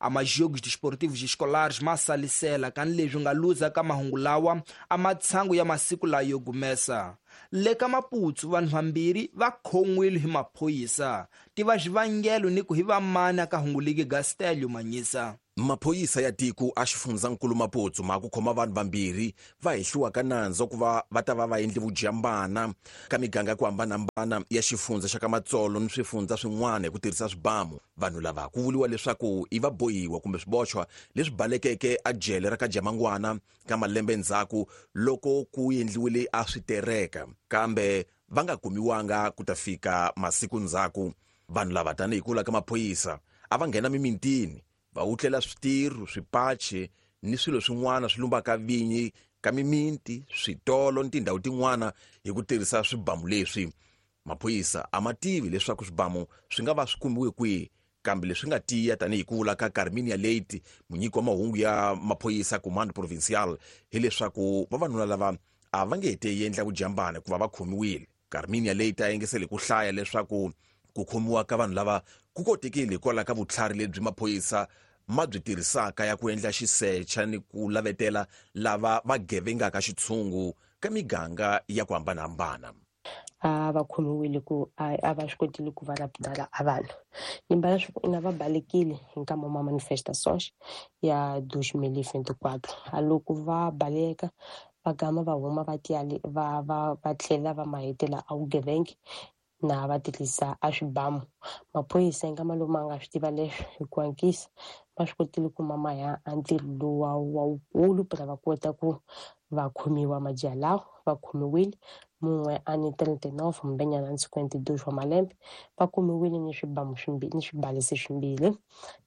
A majogos desportivos escolares ma salisela kani leswi nga luza ka mahungu lawa a matshangu ya masiku layo gumesa. Le ka Maputsu vanhu vambirhi va khon'wile hi maphorisa. Tiva xivangelo ni ku hi vamani ka hungu ligi Gastelio Manyisa. Maphorisa ya tiko a xifundzankulu Maputsu ma ku khoma vanhu vambirhi va hehliwaka nandzu ku va va ta va va endle vujambana ka miganga ya ku hambanahambana ya xifundza xa ka Matsolo ni swifundza swin'wana hi ku tirhisa swibamu. Vanhu lava ku vuriwa leswaku i vabohiwa kumbe swiboxwa leswi balekeke a jele ra ka Jamangwana ka malembe ndzhaku loko ku endliwile a switereka, kambe va nga kumiwanga ku ta fika masiku ndzhaku. Vanhu lava tanihi ku vula ka maphorisa a va nghena mimintini va wutlela switirho, swipachi ni swilo swin'wana swi lumbaka vinyi ka miminti, switolo ni tindhawu tin'wana hi ku tirhisa swibamu leswi. Maphorisa a ma tivi leswaku swibamu swi nga va swi kumiwe kwihi, kambe leswi nga tiya tanihi ku vula ka Carminia Leite, munyiki wa mahungu ya maphorisa Comando Provincial, hileswaku vavanuna lava a va nge te endla vujambana hikuva va khomiwile. Carminia Leite a engesele ku hlaya leswaku ku khomiwa ka vanhu lava ku kotekile hikwalaho ka vutlhari lebyi maphorisa ma byi tirhisaka ya ku endla xisecha ni ku lavetela lava va gevengaka xitshungu ka miganga ya ku hambanahambana. A va khomiwile ku a va swi kotile ku va raputala a vanhu nyimba ya swi ina va balekile hi nkama wa manifestations ya 2024. A loko va baleka va gama va huma va tiyale va va va tlhela va mahetela a vugevenga na va tirhisa a swibamu. Maphorisa hi nkama lowu ma nga swi tiva leswi hi ku hatlisa va swi kotile ku ma ya a ntirho lowu wa wukulu pra va kota ku va khomiwa majaha lawa. Va khomiwile mun'we a ni 39 mbenyana ni 52 wa malembe, va kumiwile ni swibamu swimbirhi ni swibalesi swimbirhi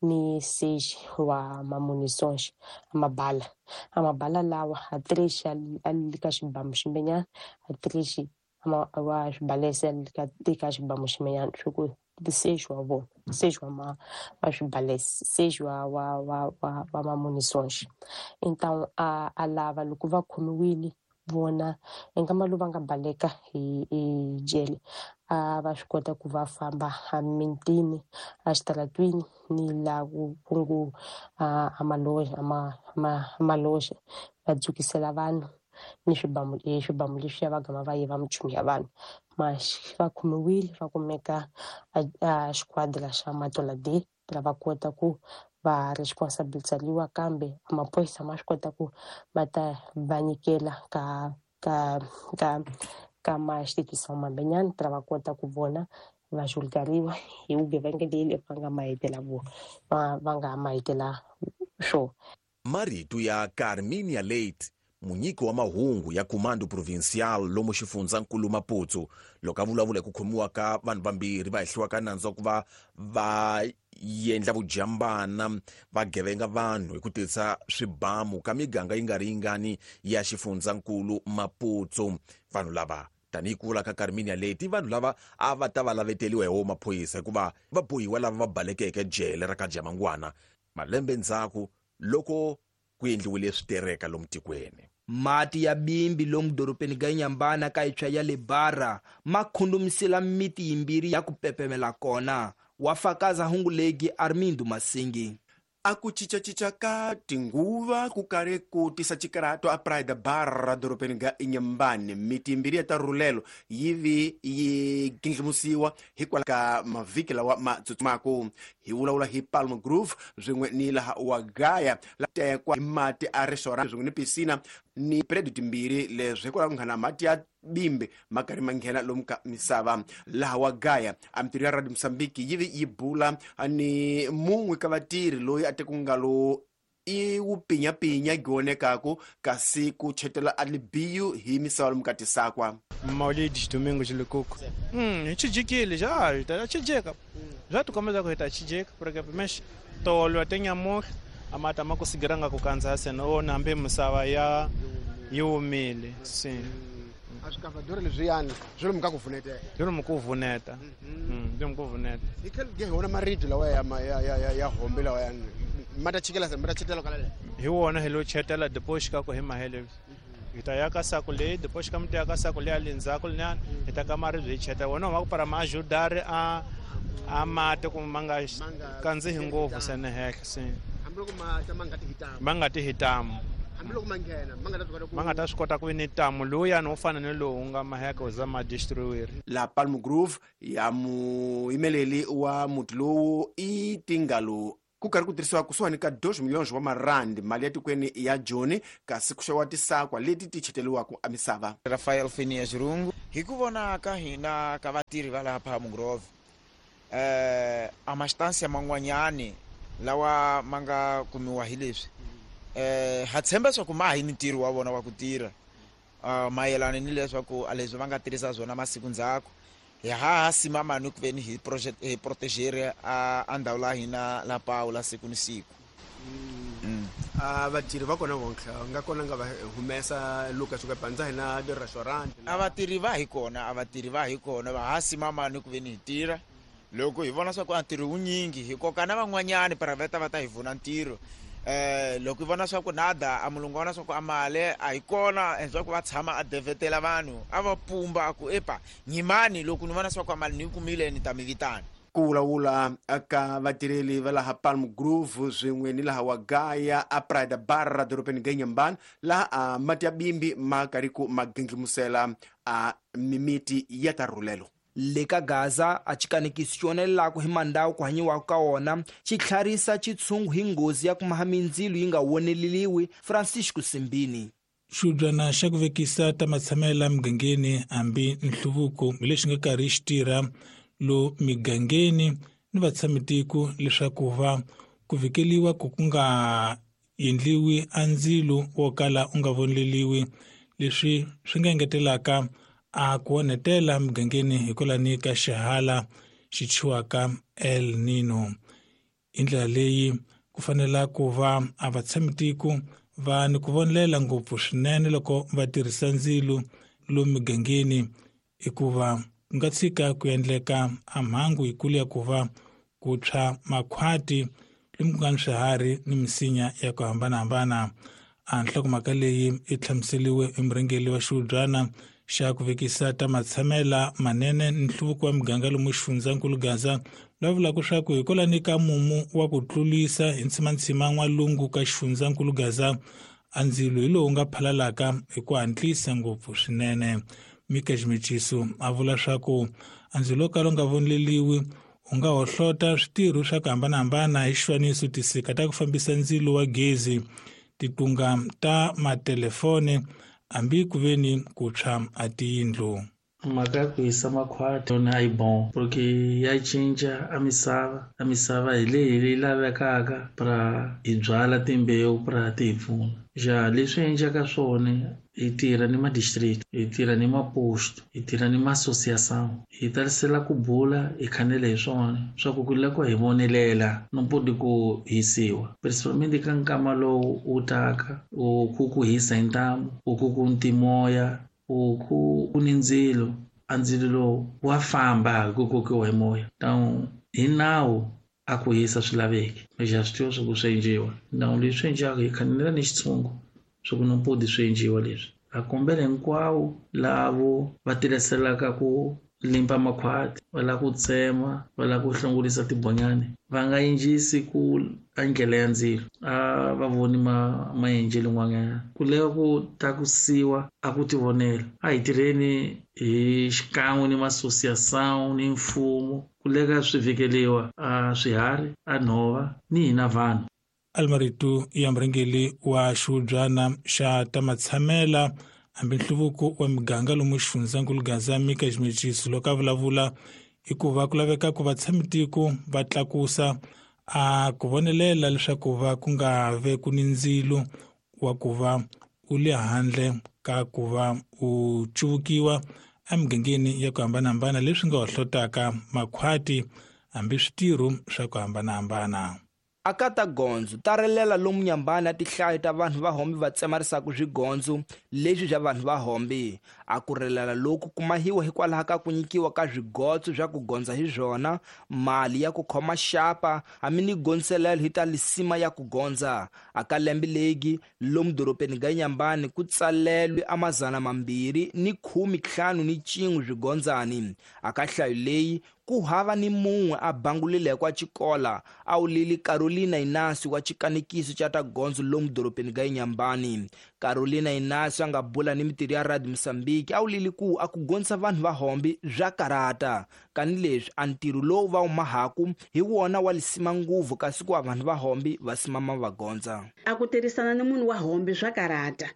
ni seji wa mamunisonx a mabala lawa a trexi a li ka xibamu ximbenyana a trexi wa swibalesi a li ka xibamu ximbenyana swi ku seji wa vona seji wa ma wa swibalesi seji wa wa wa wa wa mamunisonx. Então a lava loko va khomiwile vona nkama lowu va nga baleka hi jele a va swi kota ku va famba a mintini a xitaratwini ni la ku ngu a maloja va dzukisela vanhu ni swibamu swibamu leswiya va gama va yiva minchumu ya vanhu. Mas va khomiwile va kumeka a xikhwadra xa Matola D va kota ku va responsibilizariwa, kambe maphorisa ma swi kota ku va ta va nyikela ka ka ka ka ma xitikisa mambenyana pra va kota ku vona va julgariwa hi vugevenga leyi va nga mahetela va nga mahetela swo. Marito ya Carminia Leite, munyiki wa mahungu ya Comando Provincial lomu xifundzankulu Maputo, loko a vulavula hi ku khomiwa ka vanhu vambirhi va hehliwaka nandzu wa ku va va endla vujambana va gevenga vanhu hi ku tirhisa swibamu ka miganga yi nga ri yingani ya xifundzankulu Maputo. Vanhu lava tanihi ku vula ka Carminia Leite, vanhu lava a va ta va laveteliwa hi wo maphorisa hikuva va bohiwa lava va balekeke jele ra ka Jamangwana malembe ndzhaku loko ku endliwile switereka lomu tikweni. Mati ya bimbi lomu dorobeni ga Inhambane ka itshwa ya le Barra ma khundumisela miti yimbirhi ya ku pepemela kona. Wa fakaza hungu legi Armindo Masingi. A ku cincacinca ka tinguva ku karhi ku tisa xikarato a Praia da Barra dorobeni ga Inhambane. Miti yimbirhi ya tarhulelo yi vi yi gindlimusiwa hikwalaho ka mavhiki lawa ma tsutsumaku. Hi vulavula hi Palm Grove swin'we ni laha wa Gaya la tekwa hi mati a restaurant swin'we ni piscina ni predio timbirhi leswi hikwalaho nghana mati ya bimbe ma karhi ma nghena lomu ka misava. Laha wa Gaya a mintirho ya Radio Mozambique yi vi yi bula ni mun'we ka vatirhi loyi a te ku nga lo i wu pinyapinya gionekaku kasi ku chetela a libiyu hi misava lomu ka tisakwa. Maulides Domingos Lukuku. Hi já ta chijeka. Já tu começa a ta chijeka porque mas tolo até nyamor amata makusigiranga kukanza sena ona hambi misava ya yi omile. Sim. A swi kavadori leswiyani swi lomu ka ku vuneta. Swi lomu ku vuneta. Swi lomu ku vuneta. Hi khale ge hi wona maribye lawa ya ya ya hombe lawa ya ma ta chikela ma ta chetela kwala le. Hi wona hi lo chetela depois ka ku hi mahele. Hi ta yaka saku leyi, depois ka mi ta yaka saku leyi le ndzhaku linyana, hi ta ka maribye hi cheta wona wa ku para ma ajudar a mati ku ma nga kandzihi ngopfu sene henhla se. Hambiloko ma ta ma nga ti hitamu. Ma nga ti hitamu. Hambiloko ma nghena, ma nga ta swi kota ku Ma nga ta swi kota ku vi ni tamu lowuyani wo fana ni lowu nga maheka wu za ma destroyer. La Palm Grove ya muyimeleli wa muti lowu i tingalo ku karhi ku tirhisiwa kusuhani ka 2 milhões wa marandi mali ya tikweni ya Joni, kasi ku xaviwa tisakwa leti ti cheteriwaka emisava. Rafael Phineas Rungu, hi ku vona ka hina ka vatirhi va laha Palm Grove, a mastansia man'wanyani lawa ma nga kumiwa hi leswi, ha tshemba swa ku ma hi ni ntirho wa vona wa ku tirha, mayelana ni leswaku a leswi va nga tirhisa swona masiku ndzhaku. Hi ha sima mani ku veni hi project hi proteger a ndhawu la hina la Paula siku ni siku. A vatirhi va kona vontlha nga kona nga va humesa loko suka pandza hina di restaurant. A vatirhi va hi kona, a vatirhi va hi kona, va ha sima mani ku veni hi tirha. Loko hi vona swa ku a ntirho wunyingi hi koka na van'wanyani private va ta hi vuna ntirho. Loko hi vona swa ku nada a mulungu vona swa ku a mali a hi kona endzhaku va tshama a devetela vanhu a va pumba a ku epa nyimani loko ni vona swa ku a mali ni yi kumile ni ta mi vitana. Ku vulavula ka vatirheli va laha Palm Grove swin'we ni laha Wagaya a Praia da Barra dorobeni ga Inhambane, laha a mati ya bimbi ma karhi ku ma ginglimusela a mimiti ya ta rhulelo. Le ka Gaza a xikanekisi xi onelelaka hi mandhawu ku hanyiwaka ka wona xi tlharisa xitshungu hi nghozi ya ku maha mindzilo yi nga woneleliwi. Francisco Simbini. Xibyana xa ku vekisa ta matshamela migangeni hambi nhluvuko hi lexi nga karhi xi tirha lo migangeni ni vatshamitiko leswaku va ku vhikeliwa ku ku nga endliwi a ndzilo wo kala u nga voneleliwi, leswi swi nga engetelaka a ku onhetela migangeni hikwalani ka xihala xi thyiwaka El Nino. Hi ndlela leyi ku fanela ku va a vatshamitiko va ni ku vonelela ngopfu swinene loko va tirhisa ndzilo lomu migangeni, hikuva ku nga tshika ku endleka a mhangu yikulu ya ku va ku tshwa makhwati lomu ku nga ni swiharhi ni misinya ya ku hambanahambana. A nhlokomhaka leyi yi hlamuseriwe hi murhangeri wa xihubyana xa ku vekisa ta matshamela manene ni nhluvuko wa miganga lomu xifundzankulu Gaza, lava vulaka leswaku hikwalani ka mumu wa ku tlulisa hi ntshimantsima n'walungu ka xifundzankulu Gaza, a ndzilo hi lowu nga phalalaka hi ku hatlisa ngopfu swinene. Mika Ximeciso a vula leswaku a ndzilo wo kala wu nga voneleliwi u nga hohlota switirho swa ku hambanahambana hi xifaniso tisika ta ku fambisa ndzilo wa gezi, titunga ta matelefoni hambi ku ve ni ku tshwa a tiyindlu. Mhaka ya ku hisa makhwati yona a yi bon, porque ya cinca a misava, a misava hi leyi leyi lavekaka pra hi byala timbewu pra ti hi pfuna. Ja leswi endlaka swona hi tirha ni ma-district, hi tirha ni ma-post, hi tirha ni ma-association, hi tarisela ku bula hi khanela hi swona swa ku ku lava ku hi vonelela no podi ku hisiwa, principalmente ka nkama lowu wu taka u ku ku hisa hi ntamu, u ku ku ntimoya, u ku ku ni ndzilo, a ndzilo lowu wa famba hi ku kokiwa hi moya. Então hi nawu a ku hisa swi laveki, lexi a swi tiva swa ku swi endliwa. Nawu leswi endliwaka hi khanela ni xitshungu swa ku no podi swi endliwa leswi. A kombela hinkwawo lavo va tirhiselaka ku limpa makhwati, va lava ku tsema, va lava ku hlongorisa tibonyani, va nga endlisi ku a ndlela ya ndzilo, a va voni maendlelo n'wanyana. Ku lava ku tlakusiwa a ku tivonela. A hi tirheni hi xikan'we ni ma-association ni mfumo ku leka swi vhikeliwa a swiharhi, a nhova ni hina vanhu. Almarito ya murhangeri wa xihubyana xa ta matshamela hambi nhluvuko wa miganga lomu xifundzankulu Gaza, Mika Ximeciso, loko a vulavula hikuva ku laveka ku vatshamitiko va tlakusa a ku vonelela leswaku va ku nga ve ku ni ndzilo wa ku va u le handle ka ku va u cuvukiwa emigangeni ya ku hambanahambana, leswi nga hohlotaka makhwati hambi switirho swa ku hambanahambana. Aka ta gondzo ta relela lomu Nyambani a tihlayo ta vanhu va hombi va tsemarisaka swigondzo leswi swa vanhu va hombi. A ku relela loku kumahiwa hikwalaho ka ku nyikiwa ka swigotso swa ku gondza hi swona, mali ya ku khoma xapa hambi ni gondzelelo hi ta lisima ya ku gondza. Aka lembe legi lomu dorobeni ga Nyambani ku tsalelwe a 251 swigondzani. Aka hlayo leyi ku hava ni mun'we a bangulileko a xikola a wulile Carolina Inácio wa xikanekiso xa ta gondzo lomu dorobeni ga Inhambane. Carolina Inácio a nga bula ni mitirho ya Radio Mozambique a wulile ku a ku gondzisa vanhu va hombi bya karata, kanileswi a ntirho lowu va wu mahaku hi wona wa lisima nguvu kasi ku vanhu va hombi va simama va gondza. A ku tirhisana ni munhu wa hombi swa karata.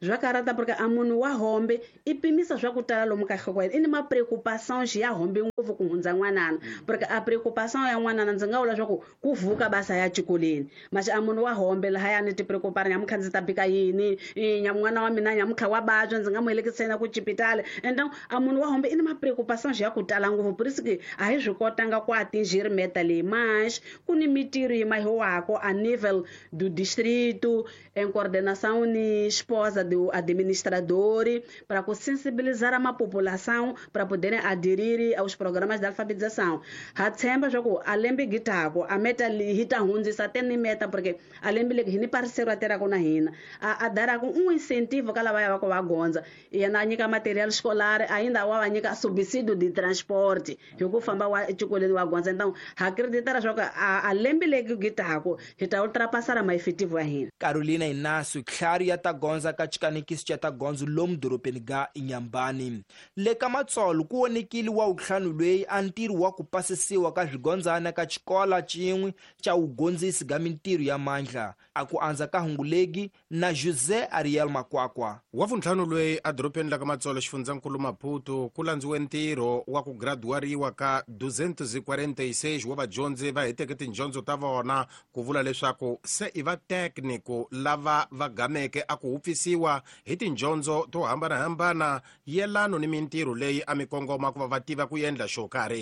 Swa karata porque a munhu wa hombi i pimisa swa ku tala lomu ka nhloko ya yena. I ni ma preocupações ya hombi ngopfu ku hundza n'wanana, porque a preocupação ya n'wanana ndzi nga vula swa ku ku vuka basa ya xikolweni. Mas a munhu wa hombe lahaya ni ti preocupar nyamuntlha ndzi ta bika yini, n'wana wa mina nyamuntlha wa vabya ndzi nga n'wi helekisela ku xipitali. Então a munhu wa hombe i ni ma preocupações ya ku tala ngopfu, por isso que a hi swi kotanga ku atingir meta leyi. Mas ku ni mitirho yi mahiwako a nível do distrito em coordenação ni esposa do administrador para sensibilizar a população para poderem aderir aos programas de alfabetização. Ha tshemba swa ku a lembe gitako a meta li hi ta hundzisa te ni meta, porque a lembe legi hi ni parceiro a tirhaka na hina a daraka um incentivo ka lava ya va ku va gondza, yena a nyika material escolar, ainda wa va nyika subsídio de transporte hi ku famba wa exikolweni wa gondza. Então ha acreditara swa ku a lembe legi gitako hi ta ultrapassar ma efetivo ya hina. Carolina Inácio tlhari ya ta gondza ka xikanekiso xa ta gondzo lomu dorobeni ga Inhambane. Le ka Matsolo ku vonekile wa wutlhanu loyi a ntirho wa ku pasisiwa ka swigondzana ka xikola xin'we xa wugondzisi ga mintirho ya mandla. A ku andza ka hungulegi na José Ariel Makwakwa. Wa vuntlhanu loyi a dorobeni la ka Matsolo xifundzankulu Maputo ku landziwe ntirho wa ku graduariwa ka 246 wa vadyondzi va heteke tidyondzo ta vona, ku vula leswaku se i va técnico lava va gameke a ku hupfisiwa hi tidyondzo to hambanahambana yelano ni mintirho leyi a mi kongoma ku va va tiva ku endla xo karhi.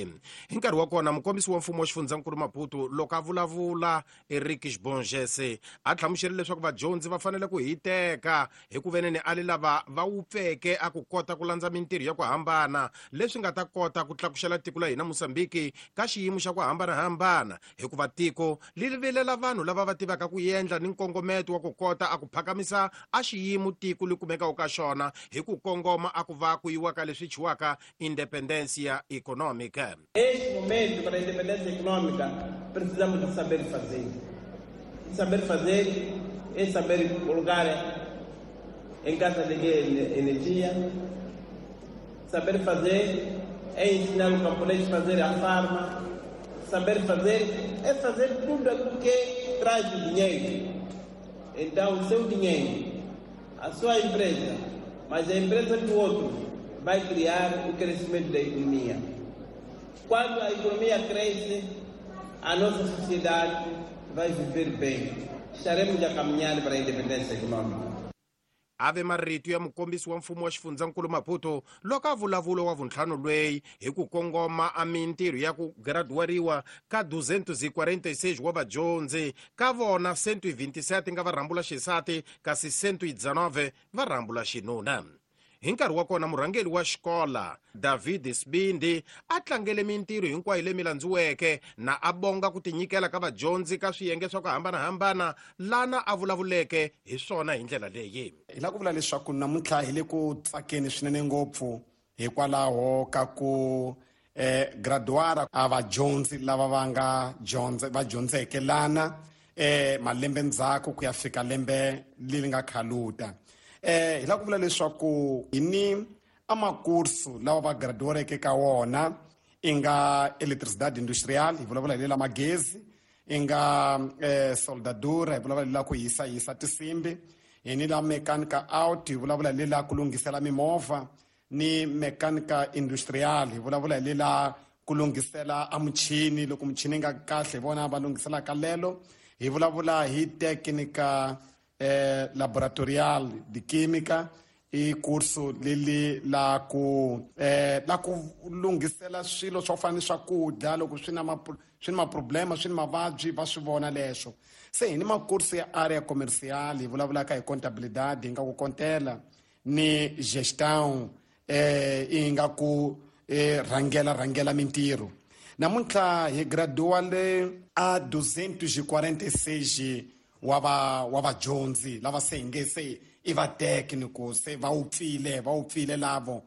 Hi nkarhi wa kona mukombisi wa mfumo wa xifundzankulu Maputo loko a vulavula Eric Xibongese a hlamusela leswaku vadyondzi va fanele ku hiteka hi ku veneni a li lava va wupfeke a ku kota ku landza mintirho ya ku hambana leswi nga ta kota ku tlakuxela tiko la hina Mozambique ka xiyimo xa ku hambanahambana, hikuva tiko li vilela vanhu lava va tivaka ku endla ni nkongometo wa ku kota a ku phakamisa a xiyimo tiko li kumekaka ka xona hi ku kongoma a ku va ku yiwa ka leswi chiwaka independência econômica. Este momento para a independência econômica precisamos de saber fazer. Saber fazer é saber colocar em casa de energia. Saber fazer é ensinar o camponês a fazer a farma. Saber fazer é fazer tudo aquilo que traz o dinheiro. Então, o seu dinheiro, a sua empresa, mas a empresa do outro vai criar o crescimento da economia. Quando a economia cresce, a nossa sociedade vai viver bem. Estaremos a caminhar para a independência econômica. Ave marito ya mukombisi wa mfumo wa xifundzankulu Maputo loko a vulavula wa vuntlhanu lweyi hi ku kongoma a mintirho ya ku graduariwa ka 246 wa vadyondzi, ka vona 127 nga va rhambula xisati kasi 119 va rhambula xinuna. Hi nkarhi wa kona murhangeri wa xikola David Sibindi a tlangele mintirho hinkwayo leyi landziweke na a bonga ku tinyikela ka vadyondzi ka swiyenge swa ku hambanahambana lana a vulavuleke hi swona hi ndlela leyi. Hi lava ku vula leswaku namuntlha hi le ku tsakeni swinene ngopfu hikwalaho ka ku graduara a vadyondzi lava va nga dyondza va dyondzeke lana malembe ndzhaku ku ya fika lembe leri nga khaluta. Hi lava ku vula leswaku hi ni amakursu lawa va graduareke ka wona, i nga electricidade industrial, hi vulavula hi lela magezi, i nga soldadura, hi vulavula hi lela ku hisa tinsimbi, hi ni la mechanica out, hi vulavula hi lela ku lunghisela mimovha, ni mechanica industrial, hi vulavula hi lela ku lunghisela a muchini loko muchini nga kahle hi vona va lunghiselaka lelo, hi vulavula hi technica laboratorial de química, I kursu leli la ku la ku lunghisela swilo swo fana ni swakudya loko swi na swi ni maproblema, swi ni mavabyi, va swi vona leswo. Se hi ni makursu ya area commercial, hi vulavulaka hi contabilidade, hi nga ku kontela ni gestão, i nga ku rhangela mintirho. Namuntlha hi graduale a 246 wa vadyondzi lava se hi nge se i va técnico, se va wupfile lavo.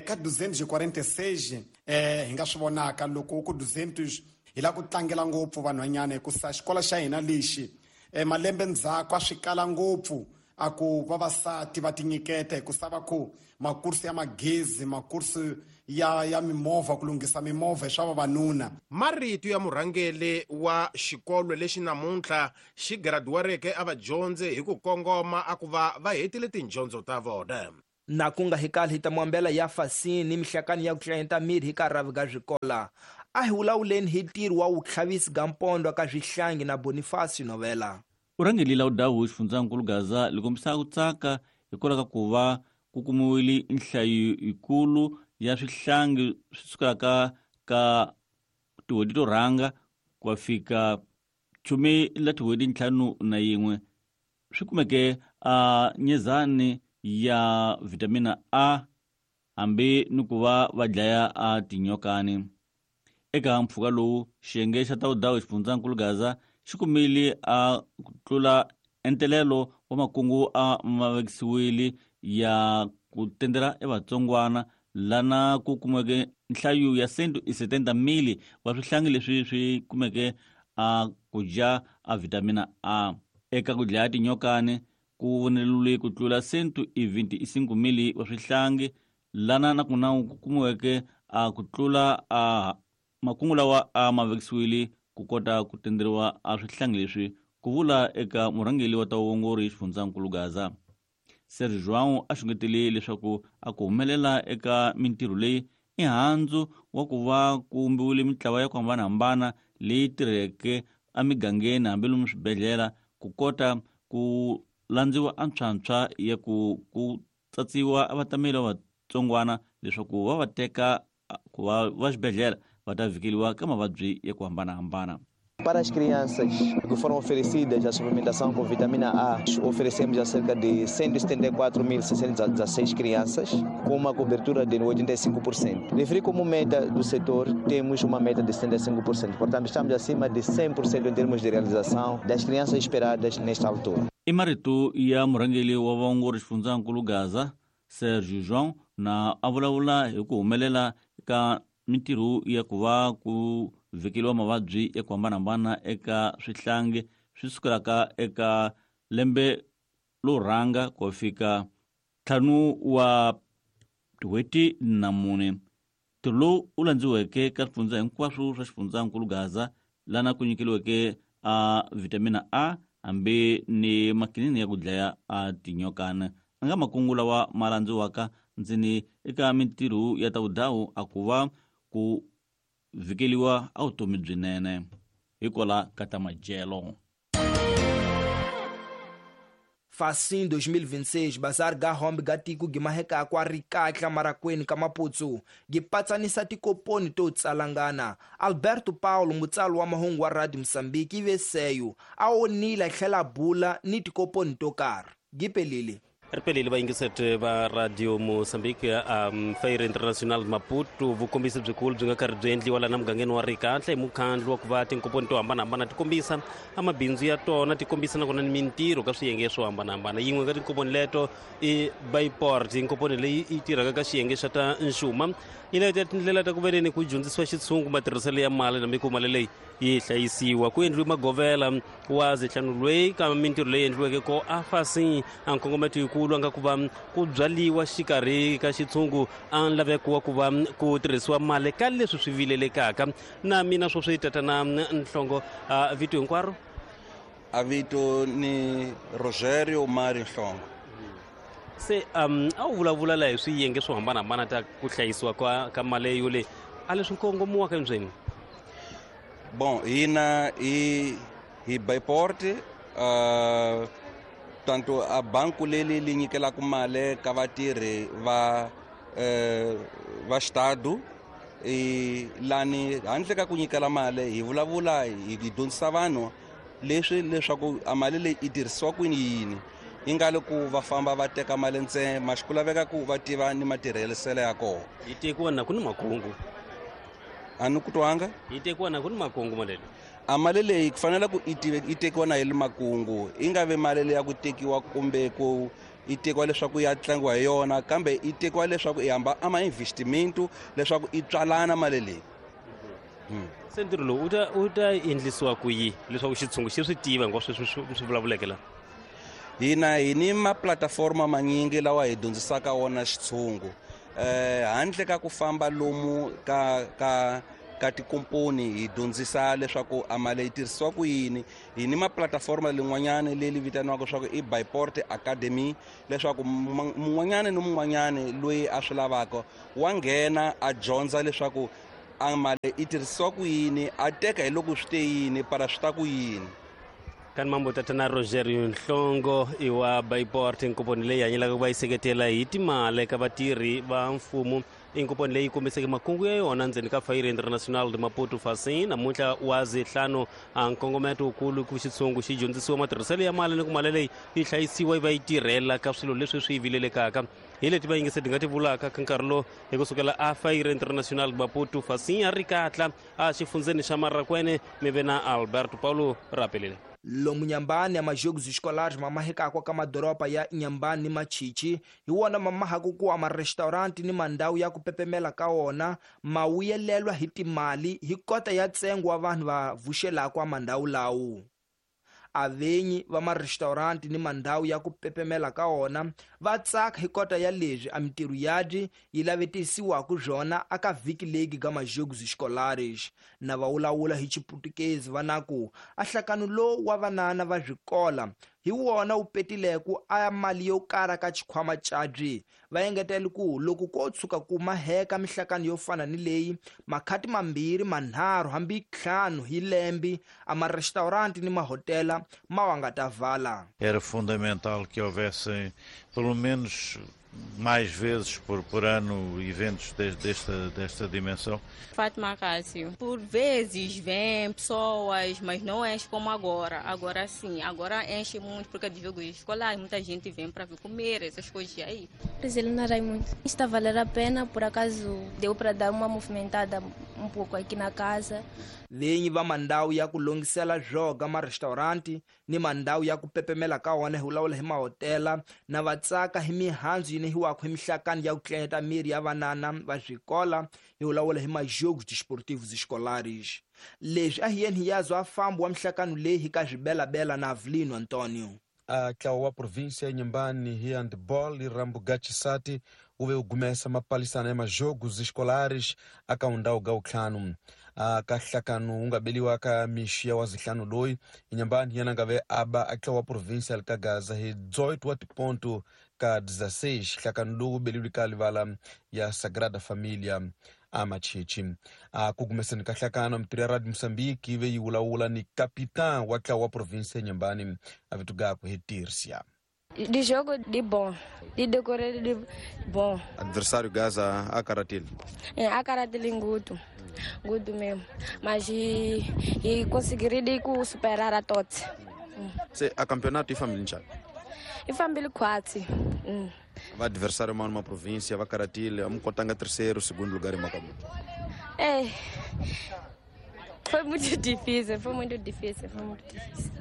Ka 246 hi nga swi vonaka loko ku 200 hi la ku tlangela ngopfu vanhwanyana, hikusa xikolo xa hina lexi malembe ndzhaku a swi kala ngopfu a ku vavasati va tinyiketa, hikusa va ku makursu ya magezi, makursu ya mimovha, ku lunghisa mimovha hi swa vavanuna. Marito ya murhangeri wa xikolo lexi namuntlha xi graduareke a vadyondzi hi ku kongoma a ku va va hetile tindyondzo ta vona. Na ku nga hikali hi ta muambela ya fasini ni mihlakani ya ku tlayenta miri hi ka ravi ga swikola. A hi vulavuleni hi ntirho wa vutlhavisi ga mpondo ka swihlangi na Boniface Novela. Urhangeri la udawu xifundzankulu Gaza li kombisa ku tsaka hikwalaho ka ku va ku kumiwile nhlayo yikulu ya swihlangi swi sukelaka ka tin'hweti to rhanga ku ya fika 15 swi kumeke a nyezani ya vitamina A hambi ni ku va va dlaya a tinyokani. Eka mpfhuka lowu xiyenge xa ta udawu xifundzankulu Gaza xi kumile a ku tlula entelelo wa makungu a mavekisiwile ya ku tendela evatsongwana lana ku kumeke nhlayo ya 170,000 wa swihlangi leswi swi kumeke a ku dya a vitamina A. Eka ku dlaya tinyokani ku voneliwile ku tlula 125,000 wa swihlangi lana na kuna ku kumiweke a ku tlula a makungu lawa a mavekisiwile ku kota ku tenderiwa a swihlangi leswi, ku vula eka murhangeri wa ta vuongori xifundzankulu Gaza. Sergio João a xungetele leswaku a ku humelela eka mintirho leyi i handzu wa ku va ku vumbiwile mintlawa ya ku hambanahambana leyi tirheke emigangeni hambi lomu swibedhlele ku kota ku landziwa antshwantshwa ya ku tsatsiwa vatameli va vatsongwana leswaku va va teka ku va va xibedhlele va ta vhikeliwa ka mavabyi ya ku hambanahambana. Para as crianças que foram oferecidas a suplementação com vitamina A, oferecemos a cerca de 174.616 crianças, com uma cobertura de 85%. Referi como meta do setor, temos uma meta de 75%, portanto estamos acima de 100% em termos de realização das crianças esperadas nesta altura. I marito ya murhangeri wa vaongori xifundzankulu Gaza, Sergio João, na a vulavula hi ku humelela ka mintirho ya ku va ku vhikeliwa mavabyi ya ku hambanahambana eka swihlangi swi sukelaka eka lembe lo rhanga ku fika 5 wa tin'hweti na 4. Ntirho lowu wu landziweke ka swifundza hinkwaswo swa xifundzankulu Gaza lana ku nyikeliweke a vitamina A hambi ni makinini ya ku dlaya a tinyokana a nga makungu lawa ma landziwaka ndzeni eka mintirho ya ta vudawu a ku va ku vhikeliwa a vutomi byinene hikwala ka ta madyelo. Facim 2026 bazar ga hombe ga tiko gimaheka kwa rikatla marakweni ka Maputsu gipatsanisa tikoponi to tsalangana. Alberto Paulo mutsali wa mahungu wa Radio Mozambique iveseyo a onile tlhela bula ni tikoponi to karhi. Gipelile Ripelile vayingiseti va Radio Mozambique Feira International Maputo vukombisi byikulu byi nga karhi byi endliwa lana mugangeni wa Rikatla hi mukhandlu wa ku va tinkomponi to hambanahambana ti kombisa amabindzu ya tona, ti kombisa nakona ni mintirho ka swiyenge swo hambanahambana. Yin'we ka tinkomponi leto i Bayport, inkomponi leyi yi tirhaka ka xiyenge xa ta nxuma, yi leta tindlela ta ku veneni ku dyondzisiwa xitshungu matirhiselo ya mali na miku mali leyi yi hlayisiwa. Ku endliwe magovela wa zihlanu lweyi ka mintirho leyi endliweke ko a fasi a nkongometo yikulu nga ku va ku byaliwa xikarhi ka xitshungu a laveko wa ku va ku tirhisiwa mali ka leswi swi vilelekaka. Na mina sweswi tatana Nhlongo, vito hinkwaro? A vito ni Rogerio Mari Nhlongo. Se a wu vulavula la hi swiyenge swo hambanahambana ta ku hlayisiwa ka mali yole a leswi kongomiwaka ndzeni? Bon, hina hi Bayport Tanto a banku leli li nyikelaka mali ka vatirhi va va xitado lani handle ka ku nyikela mali hi vulavula hi dyondzisa vanhu leswi leswaku a mali leyi yi tirhisiwa kwini yini yi nga le ku va famba va teka mali ntsena maxi ku laveka ku va tiva ni matirhiselo ya kona. Yi tekiwa na ku ni makungu. A ni ku twanga. Yi tekiwa na ku ni makungu mali leyi. A mali leyi ku fanele ku yi tekiwa na hi le makungu, yi nga vi mali leyi ya ku tekiwa kumbe ku yi tekiwa leswaku ya tlangiwa hi yona, kambe yi tekiwa leswaku yi hamba ama investment leswaku yi tswalana mali leyi. Se ntirho lowu wu ta endlisiwa ku yi leswaku xitshungu xi swi tiva hinkwaswo leswi swi vulavuleke la? Hina hi ni maplataforma manyingi lawa hi dyondzisaka wona xitshungu. Handle ka ku famba lomu ka tikomponi hi dyondzisa leswaku a mali yi tirhisiwa ku yini. Hi ni maplataforma lin'wanyana leyi vitaniwaka leswaku i Byport Academy, leswaku mun'wanyana ni mun'wanyana loyi a swi lavaka wa nghena a dyondza leswaku a mali yi tirhisiwa ku yini, a teka hi loko swi te yini para swi ta ku yini. Kan mambo tatana Rogerio Nhlongo i wa Byport, nkomponi leyi hanyelaka ku va yi seketela hi timali ka vatirhi va mfumo. I nkomponi leyi kombiseke makungu ya yona ndzeni ka Feira Internacional de Maputo Facim namuntlha wa zihlanu. A nkongometo wukulu ku xitshungu xi dyondzisiwa matirhiselo ya mali ni ku mali leyi yi hlayisiwa yi va yi tirhela ka swilo leswi swi vilelekaka. Hi leti va yingise ti nga ti vulaka ka nkarhi lowu hi kusukela a Feira Internacional de Maputo Facim a ri katla a xifundzeni xa Marracuene mi ve na Alberto Paulo Rapelile. Lomu Nyambani ya majogos escolares mamahekakwa ka madoroba ya Nyambani ni Machichi hi wona mamahaku ku ama restaurant ni mandhawu ya ku pepemela ka wona ma vuyelelwa hi timali hi kota ya ntsengo wa vanhu va vuxelaka a mandhawu lawo. Avenyi va ma-restaurant ni mandhawu ya ku pepemela ka wona va tsaka hi kota ya leswi a mintirho yabyi yi lavetisiwaka byona aka vhiki leyi ga majogos escolares. Na va vulavula hi Xiputukezi va na ku a nhlakano lowu wa vanana va swikola hi wona wu petileke a mali yo karha ka xikhwama cabyi. Va engetela ku loko ko tshuka ku maheka mihlakano yo fana ni leyi makhati mambirhi manharhu hambi ntlhanu hi lembe a ma-restaurant ni mahotela ma wa nga ta vala. Era fundamental que houvesse pelo menos mais vezes por ano eventos desta dimensão. Fátima Cássio, por vezes vem pessoas, mas não enche como agora. Agora sim, agora enche muito porque de jogos escolares, muita gente vem para vir comer, essas coisas aí. Brasilina Raimundo. Está a valer a pena, por acaso deu para dar uma movimentada um pouco aqui na casa. Vinyi va mandhawu ya ku longisela zwoga ma-restaurant ni mandhawu ya ku pepemela ka wona hi vulavula hi mahotela na va tsaka hi mihandzu yi nehiwaka hi mihlakani ya ku tlanyeta miri ya vanana va swikola hi vulavula hi majogos desportivos escolares. Leswi a hi yeni hi yazwa a fambo wa mihlakano leyi hi ka Zwibelabela na Avelino Antonio. A ntlawa wa província ya Inhambane hi handball i rambo Gatisati wu ve wu gumesa mapalisana ya majogos escolares aka undhawu ga wutlhanu. Ka nhlakano wu nga beliwa ka mixi ya wa zihlanu loyi Inhambane yena nga ve aba a ntlawa wa província ka Gaza hi 18 wa tiponto ka 16. Nhlakano lowu wu beliwile ka livala ya Sagrada Familia a Machichi. Ku gumeseni ka nhlakano mintirho ya Radio Mozambique yi ve yi vulavula ni capitão wa ntlawa wa província ya Inhambane a vito gakwe hi Tirsia. De jogo de bom, de decorrer de bom. Adversário Gaza a karatile. É, a karatile nguto, nguto mesmo. Mas e conseguir de superar a todos. Se a campeonato e família njani? E família quatro. Va adversário mano uma província, va karatile, vamos contanga terceiro, segundo lugar em Macamu. É. Foi muito difícil, foi muito difícil, foi muito difícil.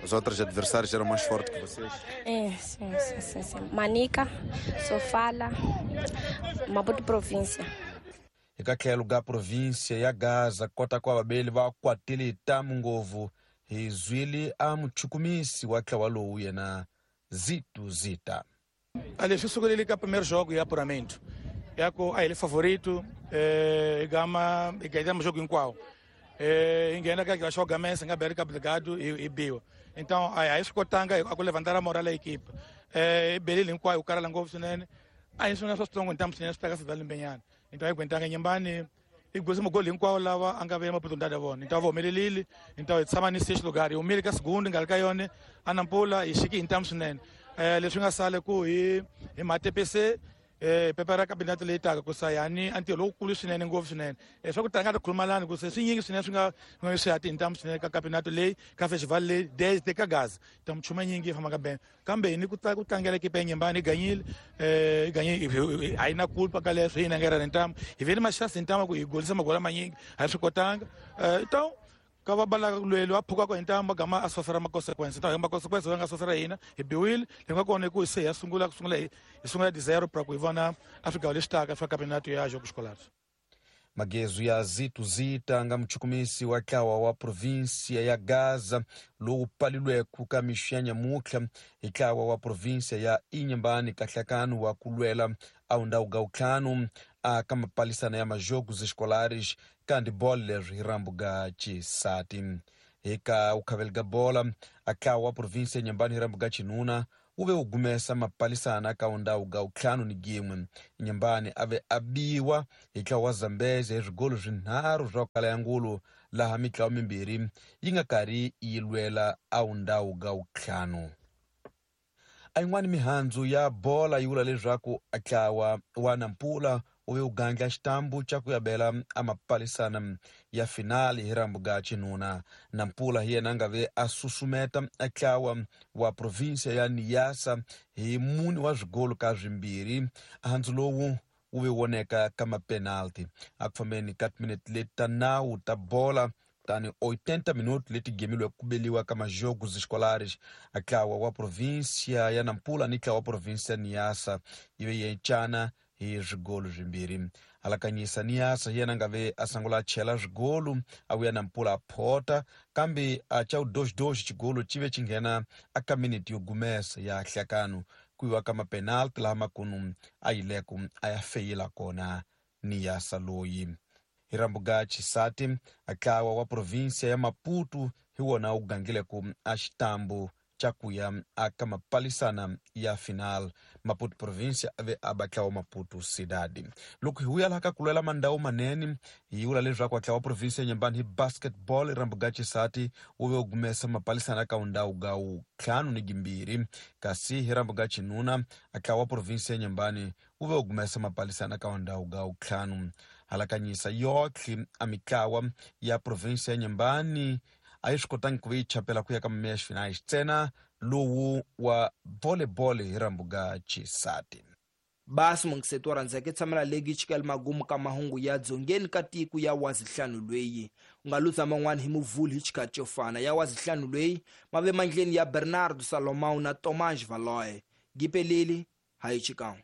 Os outros adversários eram mais fortes que vocês? É, sim, sim, sim, sim. Manica, Sofala, Maputo província. Eka tlhelo ga província ya Gaza kota kwa vabeli va kwatile tamu ngovu hi zwili a muchukumisi wa ntlawa lowu yena Zito Zita. Ali swi sukelele ka primeiro jogo ya apuramento. Yako a ele favorito, gama e ganhamos jogo hinkwawo. Ingena ka joga mesa nga berika obrigado e biwa. Então aí escotanga a levantar a moral da equipe. Belele hinkwayo o cara langou swinene. Aí isso não é só strong então swinene swi taka swi limbenyana. Então aí aguentanga Inhambane I golisa magoli hinkwawo lawa a nga ve oportunidade ya vona. Então va humelelile, então hi tshama ni sexto lugar, hi humile ka segundo nga ri ka yona a Nampula hi xiki hi ntamu swinene. Leswi nga sale ku hi matepese pepera kabinete leyi taka ku sayani a ntirho lowukulu swinene ngopfu swinene. Swa ku tala nga ti khulumalani ku se swi nyingi swinene swi nga swi ya tintamu swinene ka kabinete leyi ka festival leyi desde ka Gaza. Ta michumu nyingi yi fambaka bene. Kambe hi ni ku tlangela ekipa ya Nyembani hi ganyile, hi a yi na culpa ka leswo hi na nga ntamu. Hi ve ni maxansi ntamu ku hi golisa magoli manyingi a hi swi kotanga. Então ka va balaka lweli va phukaka hi ntamu va gama a sofera ma-consequence. Então hi ma-consequence va nga sofera hina hi biwile hi nga kona ku se hi ya sungula ku sungula hi sungula di zero pra ku hi vona a swigavo leswi taka swa campeonato ya Jogos Escolares. Magezo ya Zito Zita nga muchukumisi wa ntlawa wa província ya Gaza lowu palilweke ka mixo ya nyamutlha hi ntlawa wa província ya Inhambane ka nhlakano wa ku lwela a undhawu ga ntlhanu a ka mapalisana ya majogos escolares ka handibolo leri hi rambu ga xisati. Hi ka ukhaveli ga bola a ntlawa wa província ya Inhambane hi rambu ga xinuna wu ve wu gumesa mapalisana ka undhawu ga ntlhanu ni gin'we. Inhambane a ve a biwa hi ntlawa wa Zambezi hi swigolo swinharhu swa kala ya ngulu laha mitlawa mimbirhi yi nga karhi yi lwela a undhawu ga ntlhanu. A yin'wani mihandzu ya bola yi vula leswaku ntlawa wa Nampula wu ve wu gandla xitambu xa ku yavela a mapalisana ya finali hi rambu ga xinuna. Nampula hi yena a nga ve a susumeta ntlawa wa província ya Niassa hi mune wa swigolo ka swimbirhi. Handzu lowu wu ve voneka ka mapenalti a ku fambeni ka timinete leti ta nawu ta bola tani 80 minutos leti gemilwe ku beliwa ka majogos escolares. A ntlawa wa província ya Nampula ni ntlawa wa província ya Niassa yi ve yencana hi swigolo swimbirhi. Alakanyisa Niassa hi yena a nga ve a sungula a chela swigolo a vuya Nampula a phota kambe a ca 2-2 xigolo xi ve xi nghena a ka minete yo gumesa ya nhlakano ku yiwa ka mapenalti laha makunu a yileku a ya feyila kona Niassa loyi. Hi rambu ga xisati a ntlawa wa província ya Maputo hi wona wu gangileke a xitambu xa ku ya a ka mapalisana ya final. Maputo província a ve a ba ntlawa Maputo Cidade. Loko hi vuya laha ka ku lwela mandhawu manene hi vula leswaku ntlawa wa província ya Inhambane hi basketball hi rambu ga xisati wu ve wu gumesa mapalisana ka undhawu ga ntlhanu ni gimbirhi kasi hi rambu ga xinuna ntlawa wa província ya Inhambane wu ve wu gumesa mapalisana ka undhawu ga ntlhanu. Halakanyisa yotlhe a mitlawa ya província ya Inhambane a yi swi kotangi ku ve yi chapela ku ya ka meya finais ntsena lowu wa volleyball hi rambu ga xisati. Basi mungiseto wa rhandzeke tshamela legi chikela magumu ka mahungu ya dzongeni ka tiko ya wazihlanu lweyi. U nga luza man'wani hi muvhulu hi xikhathi xo fana ya wazihlanu lweyi mave mandleni ya Bernardo Salomão na Tomás Valoy. Gipeleli hayi xikan'we.